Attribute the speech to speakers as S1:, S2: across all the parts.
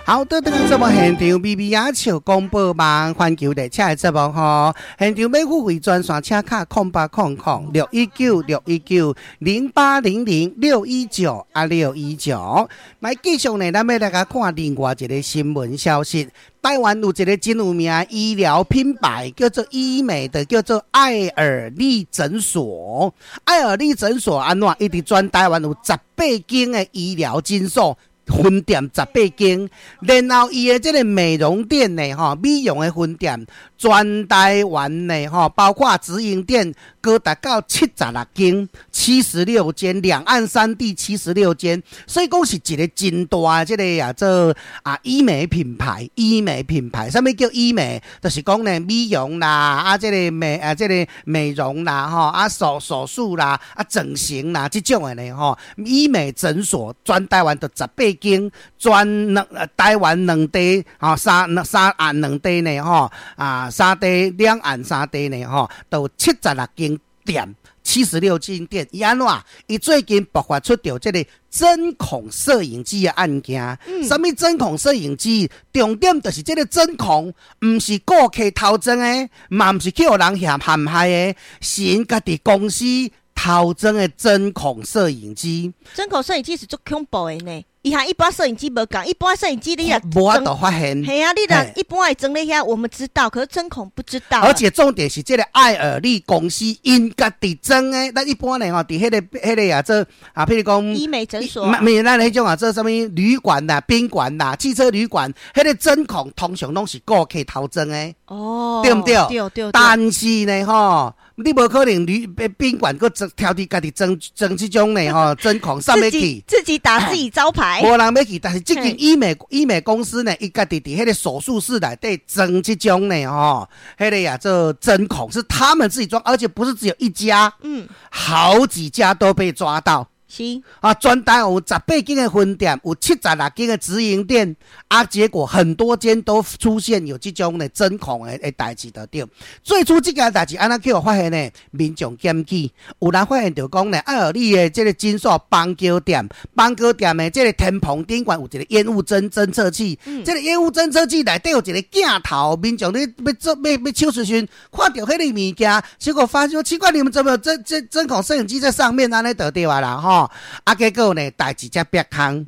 S1: 好的，這個節目現場微微仔笑廣播網環球列車的節目吼，現場欲付費專線請敲0800-619-6190800-619啊六一九。來繼續呢，咱欲來共看另外一个新聞消息。台灣有一个真有名的醫療品牌，叫做醫美的，叫做愛爾利診所。愛爾利診所按怎？伊佇全台灣有十八間的醫療診所。分店十八間，然後伊的這个美容店呢，吼，美容的分店，全台灣呢，吼，包括直營店，高達到76間，七十六間，兩岸三地七十六間，所以講是一个真大的這个啊做啊醫美品牌，醫美品牌，啥物叫醫美？就是講呢美容啦，啊這个美啊這个美容啦，吼，啊手術啦，啊整形啦，這種的呢，吼，醫美診所全台灣就十八間，全兩台灣兩地，吼，三三岸兩地呢，吼，啊三地兩岸三地呢，吼，都七十六間店，七十六間店。伊按怎？伊最近爆發出著這个針孔攝影機的案件。啥物針孔攝影機？重點就是這个針孔，毋是顧客偷裝的，嘛毋是去予人陷害的，是𪜶家己公司偷裝的針孔攝影機。
S2: 針孔攝影機是足恐怖的呢。伊和一般攝影機無仝，一般攝影機你若
S1: 無法度發現。
S2: 係啊，你若一般會裝咧遐，我們知道，可是針孔不知道。
S1: 而且重點是，這个愛爾利公司𪜶家己裝的，咱一般呢吼，佇彼个啊做啊，譬如講
S2: 醫美診所，
S1: 毋咱彼種啊做啥物旅館啦、賓館啦、汽車旅館，彼个針孔通常攏是顧客偷裝的。對毋對？
S2: 對對。
S1: 但是呢，吼，你無可能旅賓館閣裝挑佇家己裝裝這種呢吼，針孔啥欲去？
S2: 自己打自己招牌。
S1: 無人欲去，但是這間醫美公司呢，伊家己佇彼個手術室內底裝這種呢吼，彼个啊做針孔是他們自己裝，而且不是只有一家，好幾家都被抓到。啊，全台有十八間的分店，有76間的直營店，啊，結果很多間都出現有這種的針孔的代誌就對。最初這件代誌按怎去予發現呢？民眾檢舉，有人發現著講呢，愛爾利的這个診所板橋店，板橋店的這个天棚頂懸有一个煙霧偵測器，這个煙霧偵測器內底有一个鏡頭，民眾咧欲做欲欲手術時，看著彼个物件，結果發現奇怪，你們怎麼有針孔攝影機在上面按呢就對啊啦吼。啊，結果呢，代誌才煏空。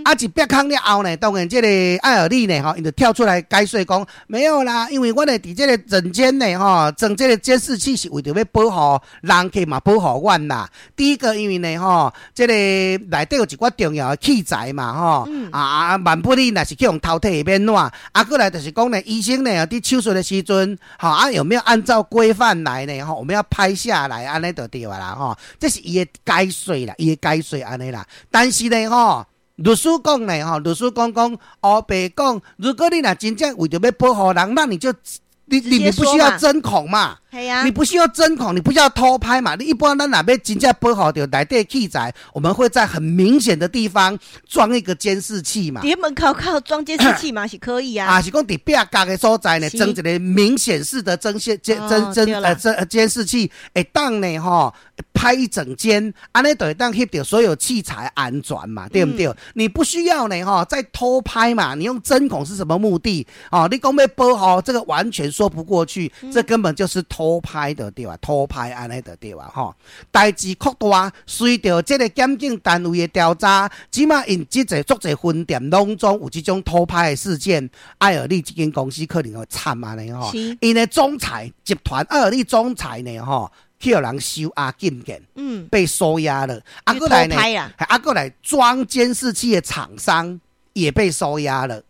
S1: 啊，一煏空了後呢，當然這个愛爾利呢，吼，伊就跳出來解釋講，沒有啦，因為阮的佇這个診間呢，吼，裝這个監視器是為著欲保護人客嘛，保護阮啦。第一個，因為呢，吼，這个內底有一寡重要的器材嘛，吼，啊啊，萬不利若是去予偷提會欲按怎？啊，閣來就是講呢，醫生呢，佇手術的時陣，吼，啊，有沒有按照規範來呢？吼，我們要拍下來，按呢就對啦，吼，這是伊的解釋啦，伊的解釋按呢啦。但是呢，吼，律師講呢，吼，律師講講，烏白講，如果你若真正為著欲保護人，那你就你不需要針孔嘛？你不需要針孔，你不需要偷拍嘛？你一般咱若欲真正保護著內底器材，我們會在很明顯的地方裝一個監視器嘛。
S2: 佇門口靠裝監視器嘛是可以啊。
S1: 啊，是講佇壁角的所在呢，裝一个明顯式的針線監偵偵呃偵監視器，會當呢吼拍一整間，按呢就會當翕著所有器材安全嘛，對毋對？你不需要呢吼再偷拍嘛？你用針孔是什麼目的？哦，你講欲保護這個完全說不過去，這根本就是偷拍的對吧？偷拍按呢就對吧？吼，代誌擴大，隨著這个檢警單位的調查，這馬𪜶這濟足濟分店攏總有這種偷拍的事件，愛爾利這間公司可能會慘按呢吼。𪜶的總裁集團愛爾利總裁呢吼，去予人收押禁見，被收押了。啊，閣來呢，啊，閣來裝監視器的廠商也被收押了。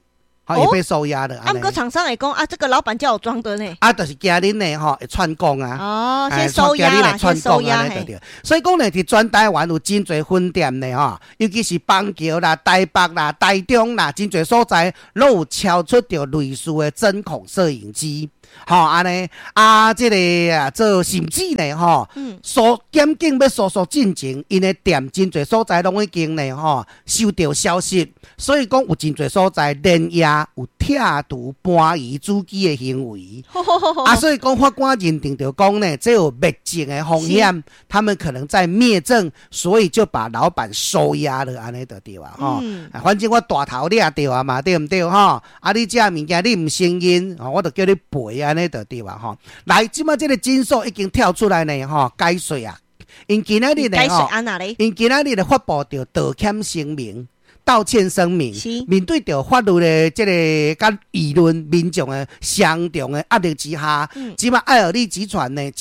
S1: 好，也被收押了。
S2: 啊，毋過廠商會講啊，這個老闆叫我裝的呢。
S1: 啊，就是驚恁呢吼會串供啊。
S2: 哦，先收押啦，先收押。
S1: 對。所以講呢，佇全台灣有真濟分店呢吼，尤其是板橋啦、台北啦、台中啦，真濟所在攏有敲出著類似的針孔攝影機。吼，按呢啊，這个啊做甚至呢吼，訴檢警欲搜索進前，𪜶的店真濟所在攏已經呢吼收著消息，所以講有真濟所在連夜有拆除搬移主機的行為。啊，所以講法官認定著講呢，這有滅證的風險，他們可能在滅證，所以就把老闆收押了，按呢就對啊，吼。反正我大頭掠著啊嘛，對毋對吼？啊，你這物件你毋承認，我就叫你賠，按呢就對啊，吼。來，這擺這個診所已經跳出來呢，吼，解說啊，𪜶今仔日呢，吼，𪜶今仔日咧發布著道歉聲明。道歉聲明，面對著法律的這個佮輿論民眾的雙重的壓力之下，這擺愛爾利集團呢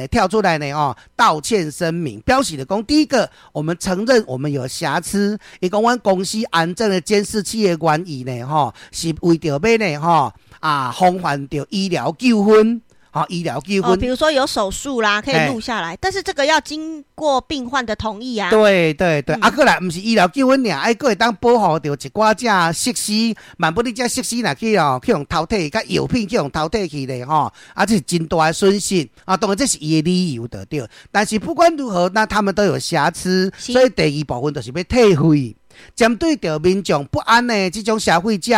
S1: 跳出來呢，哦，道歉聲明，表示著講，第一個，我們承認我們有瑕疵，伊講阮公司安裝的監視器的原意呢，吼，是為著欲呢，吼，啊，防範著醫療糾紛。好，醫療糾紛，
S2: 比如說有手術啦，可以錄下來，但是這個要經過病患的同意啊。
S1: 對對對，啊，閣來毋是醫療糾紛爾，愛閣會當保護著一寡這設施，萬不你這設施若去哦，去予偷提，佮藥品去予偷提去咧吼，啊，這是真大的損失啊。當然這是伊的理由就對，但是不管如何，那他們都有瑕疵，所以第二部分就是欲退費。針對著民眾不安的這種消費者，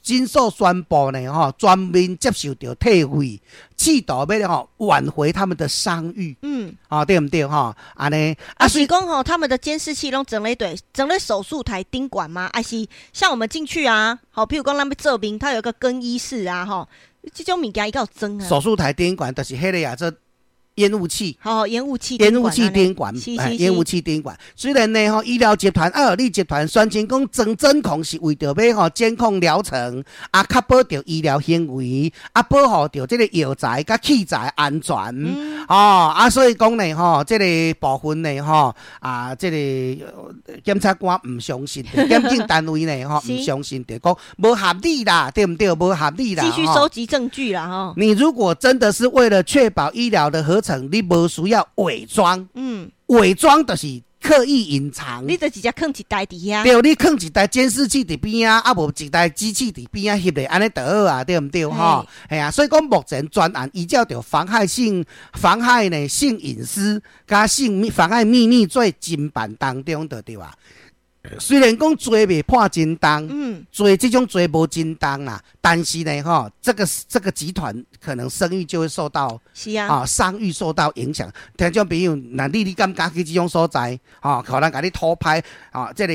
S1: 診所宣布呢，吼，全面接受著退費，試圖欲吼挽回他們的商譽。啊，對毋對吼？按呢，
S2: 啊，是講吼，他們的監視器攏裝咧佗，裝咧手術台頂懸嗎？還是像我們進去啊？好，譬如講咱欲做面，它有一個更衣室啊，吼，這種物件伊敢有裝啊？
S1: 手術台頂懸就是彼个啊，這煙霧器，
S2: 好，煙霧器，
S1: 煙霧器頂懸，煙霧器頂懸。雖然呢，吼，醫療集團愛爾利集團宣稱講裝針孔是為著欲吼監控療程，啊，確保著醫療行為，啊，保護著這個藥材佮器材安全。哦，啊，所以講呢，吼，這個部分呢，吼，啊，這個檢察官毋相信，檢警單位呢，吼，毋相信，就講無合理啦，對毋對？無合理啦。
S2: 繼續收集證據啦，吼。
S1: 你如果真的是為了確保醫療的合成，你無需要偽裝，偽裝就是刻意隱藏。
S2: 你就直接囥一台佇遐。
S1: 對，你囥一台監視器佇邊仔，啊無一台機器佇邊仔翕咧，按呢就好啊，對毋對？吼，嘿啊，所以講目前專案依照著妨害性、妨害呢性隱私佮性妨害秘密罪偵辦當中，就對啊。雖然講罪未判真重，罪這種罪無真重啦，但是呢，吼，這個集團可能聲譽就會受到，啊，商譽受到影響。聽眾朋友，若你敢敢去這種所在，吼，可能共你偷拍，啊，這個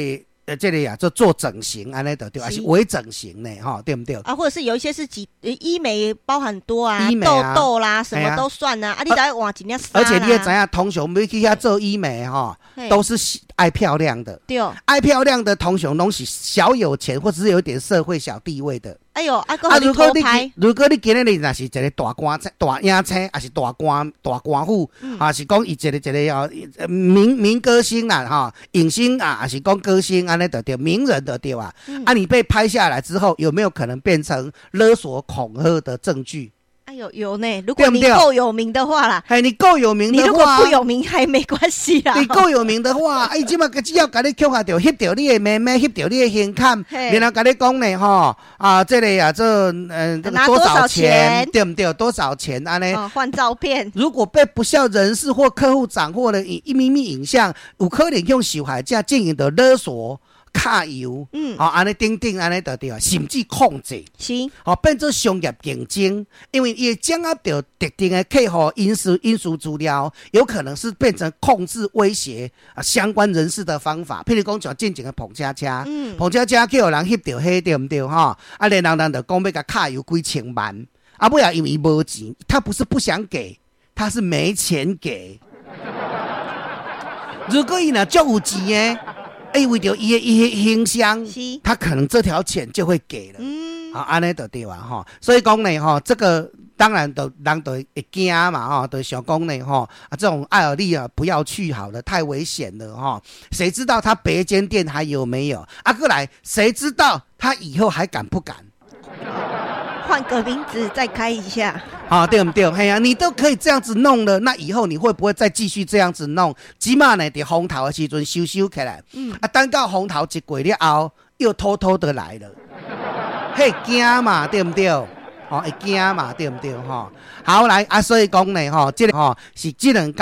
S1: 啊，做整形按呢就對，還是微整形呢，吼，對毋對？
S2: 啊，或者是有一些是幾醫美包很多啊，
S1: 醫美
S2: 痘痘啦，什麼都算啊，啊，你知換一領
S1: 而且你也知影，通常欲去遐做醫美吼，都是愛漂亮的，愛漂亮的通常攏是小有錢，或者是有點社會小地位的。
S2: 哎喲，啊，如果你
S1: 今日若是一個大官、大影星，抑是大官、大官府，啊，是講伊一個一個哦，名歌星啦，吼，影星啊，抑是講歌星按呢就對，名人就對啊。啊，你被拍下來之後，有沒有可能變成勒索恐嚇的證據？
S2: 哎呦，有呢！如果你夠有名的話啦，
S1: 嘿，你夠有名的話，
S2: 你如果不有名還沒關係啦。
S1: 你夠有名的話，哎，這馬只要共你抾著，翕著你的妹妹，翕著你的胸坎，然後共你講呢，吼，啊，這個啊，這這個多少錢，對毋對？多少錢按呢？
S2: 換照片。
S1: 如果被不肖人士或客戶掌握了秘密影像，有可能向受害者進行著勒索、卡油，好，按呢等等，按呢就對啊，甚至控制，好，變做商業競爭，因為伊掌握著特定的客戶隱私資料，有可能是變成控制、威脅啊相關人士的方法。譬如講像進前的澎車車，澎車車去予人翕著彼對毋對？吼，啊，然後人就講欲共卡油幾千萬，啊，尾仔因為伊無錢，他不是不想給，他是沒錢給。如果伊若足有錢的，欸，為著伊的形象，他可能這條錢就會給了。好，按呢就對啊，吼。所以講呢，吼，這個當然都人都會驚嘛，吼，就想講呢，吼，啊，這種愛爾利啊，不要去好了，太危險了，吼。誰知道他別間店還有沒有？啊，閣來，誰知道他以後還敢不敢？
S2: 換個名字再開一下。
S1: 啊，對毋對？嘿啊，你都可以這樣子弄了，那以後你會不會再繼續這樣子弄？這馬呢，佇風頭的時陣收收起來，啊，等到風頭一過了後，又偷偷的來了，會驚嘛，對毋對？哦，會驚嘛，對毋對？吼，好來啊，所以講呢，吼，這個吼是這兩工。